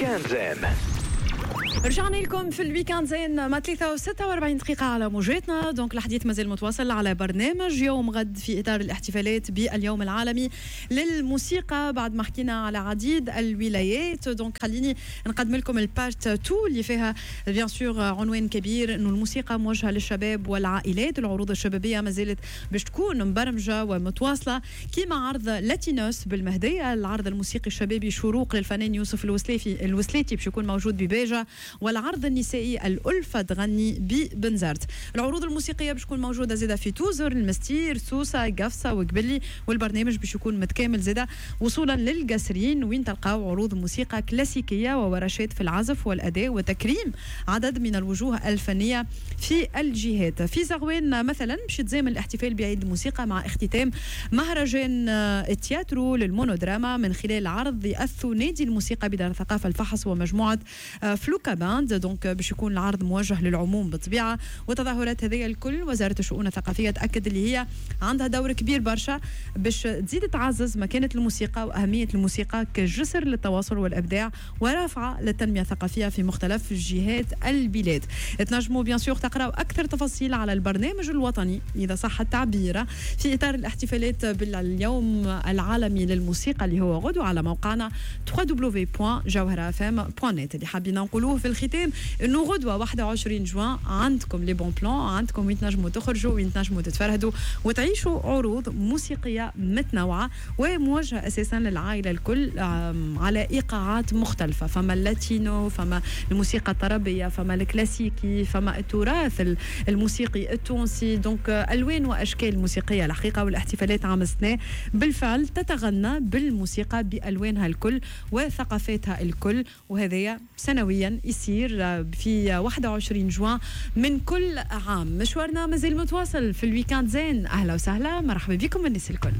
Week-end Zen. رجعنا لكم في ال Week-end Zen مع 3 دقيقة على موجاتنا. donc الحديث مازال متواصل على برنامج يوم غد في إطار الاحتفالات باليوم العالمي للموسيقى، بعد ما حكينا على عديد الولايات. donc خليني نقدم لكم ال part 2 اللي فيها bien sûr عنوان كبير انه الموسيقى موجهة للشباب والعائلات. العروض الشبابية ما زالت باش تكون مبرمجة ومتواصلة، كيما عرض لاتينوس بالمهدية، العرض الموسيقي الشبابي شروق للفنان يوسف الوسلاتي باش يكون موجود بباجة، والعرض النسائي الألفة تغني ببنزرت. العروض الموسيقية باش تكون موجودة زادة في توزر، المستير، سوسة، قفصة وقبلي، والبرنامج باش يكون متكامل زادة وصولا للقصرين وين تلقاو عروض موسيقى كلاسيكية وورشات في العزف والأداء وتكريم عدد من الوجوه الفنية في الجهات. في زغوان مثلا باش يتزامن الاحتفال بعيد الموسيقى مع اختتام مهرجان التياترو للمونودراما من خلال عرض الثنائي الموسيقى بدار الثقافة الفحص ومجموعة فلوكا باند. donc باش يكون العرض موجه للعموم بالطبيعة. وتظاهرات هذه الكل وزارة الشؤون الثقافية تأكد اللي هي عندها دور كبير برشا باش تزيد تعزز مكانة الموسيقى وأهمية الموسيقى كجسر للتواصل والإبداع ورافعة للتنمية الثقافية في مختلف جهات البلاد. تنجموا bien sûr تقراو أكثر تفاصيل على البرنامج الوطني إذا صح التعبير في إطار الاحتفالات باليوم العالمي للموسيقى اللي هو غدوة على موقعنا www.jawharafm.net. اللي حابين نقولوه في الختام انه غدوه 21 جوان عندكم les bons plans، عندكم وين تنجموا تخرجوا، وين تنجموا تتفرهدوا وتعيشوا عروض موسيقية متنوعة وموجهه اساسا للعائلة الكل على ايقاعات مختلفه. فما اللاتينو، فما الموسيقى الطربيه، فما الكلاسيكي، فما التراث الموسيقي التونسي. donc الوان واشكال موسيقية الحقيقه، والاحتفالات عام السنة بالفعل تتغنى بالموسيقى بالوانها الكل وثقافاتها الكل، وهذايا سنويا يصير في 21 جوان من كل عام. مشوارنا مازال متواصل في ال Week-end Zen. اهلا وسهلا، مرحبا بكم الناس الكل.